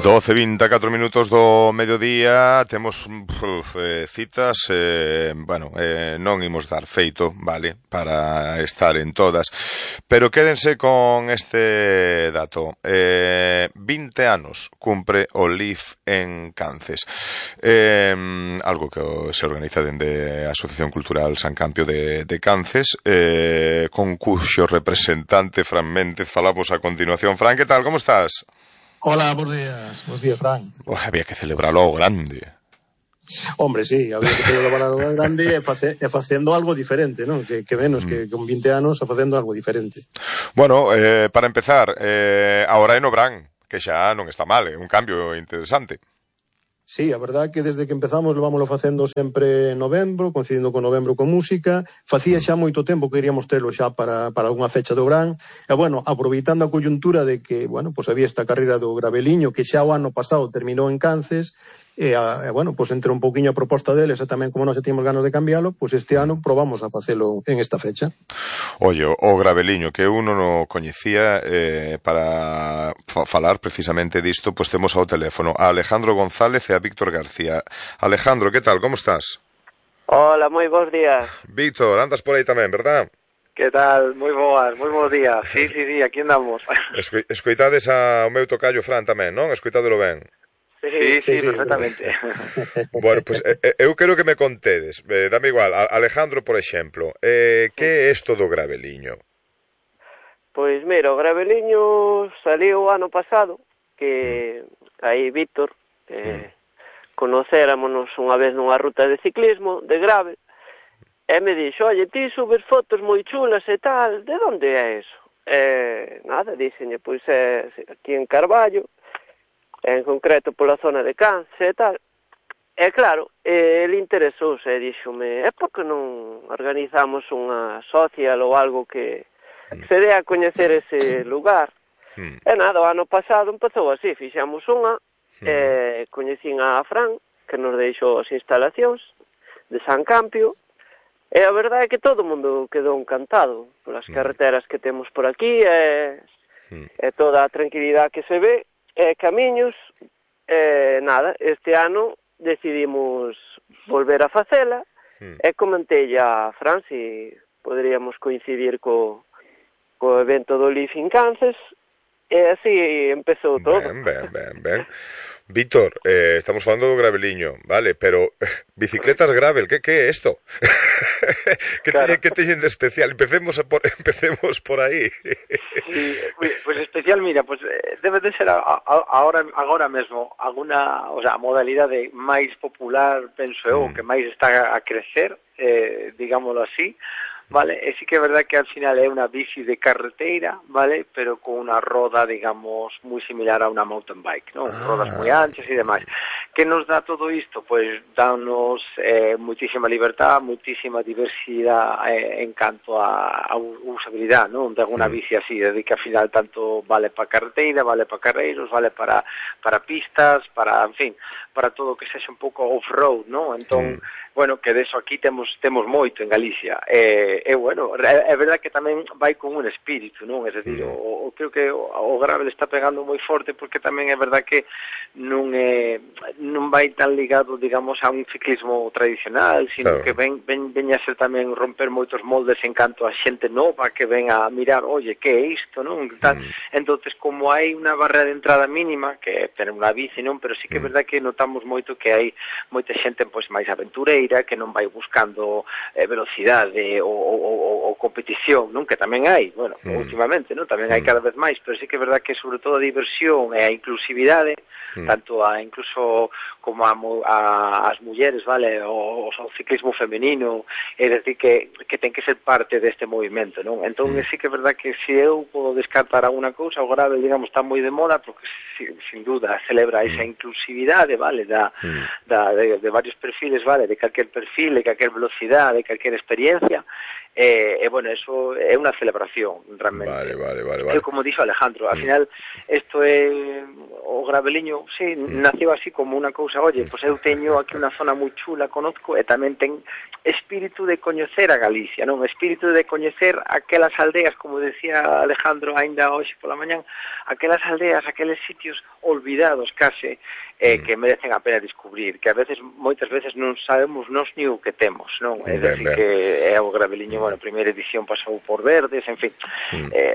12:24 minutos do mediodía. Temos citas, non imos dar feito, vale, para estar en todas, pero quédense con este dato. 20 anos cumpre o LIF en Cances, algo que se organiza dende a Asociación Cultural San Campio de Cances, con cuxo representante Fran Méndez falamos a continuación. Fran, que tal, como estás? Hola, bons días, Fran. Había que celebralo ao grande. Hombre, sí, había que celebralo ao grande e facendo algo diferente, non? Que menos que con 20 anos facendo algo diferente. Bueno, para empezar, agora é no Bran, que xa non está mal, é un cambio interesante. Sí, a verdad que desde que empezamos levámoslo facendo sempre en novembro, coincidindo con novembro con música. Facía xa moito tempo que queríamos trelo xa para algunha fecha do Gran. E, bueno, aproveitando a coyuntura de que, bueno, pues había esta carreira do Graveliño que xa o ano pasado terminou en Cances, bueno, pues entre un pouquiño a proposta deles e tamén como nós tínhamos ganas de cambialo, pues este ano probamos a facelo en esta fecha. Oye, o Graveliño, que uno non coñecía, para falar precisamente disto, pues temos ao teléfono a Alejandro González e a Víctor García. Alejandro, que tal, como estás? Hola, moi bons días. Víctor, andas por aí tamén, verdad? Que tal? Moi bons días. Sí, aquí andamos. Escoitades ao meu tocayo Fran tamén, non? Escoitádelo ben. Sí, perfectamente. Bueno, pues eu quero que me contedes, dame igual, Alejandro, por exemplo, que é isto do Graveliño? Pois mira, o Graveliño saliu o ano pasado, que aí Víctor conocerámonos unha vez nunha ruta de ciclismo, de gravel, e me dixo, oye, ti subes fotos moi chulas e tal, de onde é eso? Nada, díxenlle, pois é aquí en Carballo, en concreto pola zona de Cances e tal. E claro, ele interesouse e díxome, por que non organizamos unha social ou algo que se dé a coñecer ese lugar? E nada, o ano pasado empezou así, fixamos unha, coñecín a Fran, que nos deixou as instalacións de San Campio, e a verdade é que todo o mundo quedou encantado polas carreteras que temos por aquí, e toda a tranquilidade que se ve, camiños, nada, este ano decidimos volver a facela e comentei a Fran se poderíamos coincidir co evento do LIF en Cances e así empezou todo. Ben. Víctor, estamos falando do Graveliño, vale, pero bicicletas gravel, que é isto? Que teñen de especial? Empecemos por aí. Sí, pues especial, mira, pues debe de ser agora mesmo alguna, o sea, a modalidade máis popular, penso eu, que máis está a crecer, digámoslo así, vale, e sí que é verdad que al final é unha bici de carreteira, vale, pero con unha roda, digamos, moi similar a unha mountain bike, non? Rodas moi anchas e demais. Que nos dá todo isto? Pois dános muitísima libertad, muitísima diversidade en canto a usabilidade, non? De alguna bici así, de que al final tanto vale para carreteira, vale para carreiros, vale para pistas, para, en fin, para todo o que sexa un pouco off-road, non? Entón, bueno, que deso aquí temos moito en Galicia. Bueno, é verdad que tamén vai con un espírito, non? É dicir, creo que o gravel está pegando moi forte porque tamén é verdad que non vai tan ligado, digamos, a un ciclismo tradicional, sino que ven a ser tamén romper moitos moldes en canto a xente nova que ven a mirar, oye, que é isto, non? Entonces, como hai unha barrera de entrada mínima, que é ter unha bici, non? Pero sí que é verdad que notamos moito que hai moita xente pois máis aventureira, que non vai buscando velocidade ou competición, non? Que tamén hai, bueno, últimamente, non? Tamén hai cada vez máis, pero sí que é verdad que sobre todo a diversión e a inclusividade, tanto incluso como as mulleres, vale, o ciclismo femenino, é dicir que ten que ser parte deste movimento, non? Entón sí que é verdad que se eu podo descartar alguna cousa, o grave, digamos, está moi de moda porque sin duda celebra esa inclusividade, vale, de varios perfiles, vale, de calquer perfil, de calquer velocidade, de calquer experiencia, bueno, eso é unha celebración realmente. Vale. Como dixo Alejandro, al final isto é o Graveliño, sí, nació así como unha cousa, oye, pois eu teño aquí unha zona moi chula, conozco, e tamén ten espírito de coñecer a Galicia, non? Espírito de coñecer aquelas aldeas, como decía Alejandro aínda hoxe pola mañán, aquelas aldeas, aqueles sitios olvidados case, que merecen a pena descubrir, que a veces, moitas veces non sabemos nós ni o que temos, non? É dicir que é o Graveliño, bueno, a primeira edición pasou por Verdes, en fin,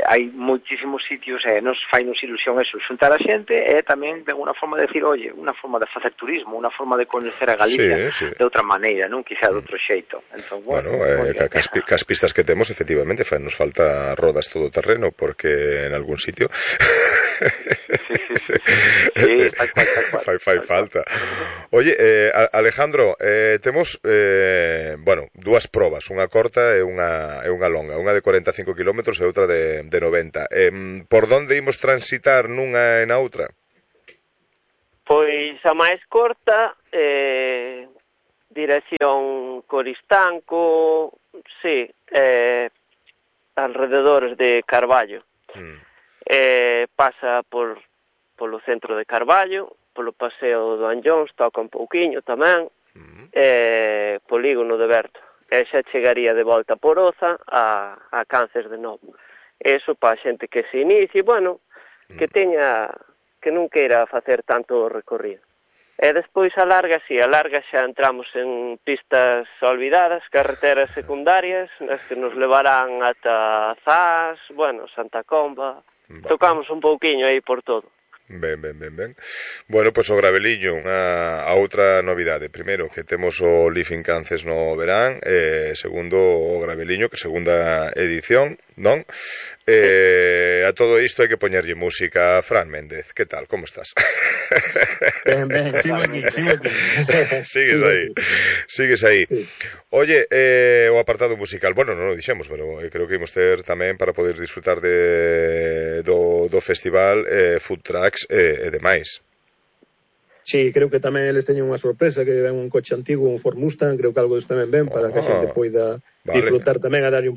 hai moitísimos sitios, nos fainos ilusión eso, xuntar a xente, e tamén de alguna forma de decir, oye, unha forma de facer turismo, unha forma de coñecer a Galicia de outra maneira, non? Quizá de outro xeito. Entón, bueno, cas pistas que temos, efectivamente, nos falta rodas todo terreno, porque en algún sitio sí, tal cual. Fai falta. Oye, Alejandro, temos bueno, dúas probas, unha corta e unha longa, unha de 45 km e outra de 90. Por onde imos transitar nunha e na outra? Pois a máis corta, dirección Coristanco, sí, alrededores de Carballo. Pasa polo centro de Carballo, polo paseo do Anllóns, toca un pouquiño tamén, polígono de Berto, e xa chegaría de volta por Oza a Cances de novo. Eso para a xente que se inicie, bueno, que non queira facer tanto recorrido. E despois a larga xa entramos en pistas olvidadas, carreteras secundarias, nas que nos levarán ata Zas, bueno, Santa Comba, tocamos un pouquiño aí por todo. Ben. Bueno, pois o Graveliño, a outra novidade. Primeiro, que temos o Living Cances no verán, segundo, o Graveliño, que segunda edición, non? A todo isto hai que poñerlle música. Fran Méndez, que tal? Como estás? Ben, sigo aquí. Sigues aí. Sí. Oye, o apartado musical, bueno, non o dixemos, pero creo que imos ter tamén para poder disfrutar do festival, food trucks e demais. Sí, creo que tamén eles teñen unha sorpresa, que ven un coche antigo, un Ford Mustang, creo que algo disto tamén ven, para que a xente poida disfrutar tamén a darlle un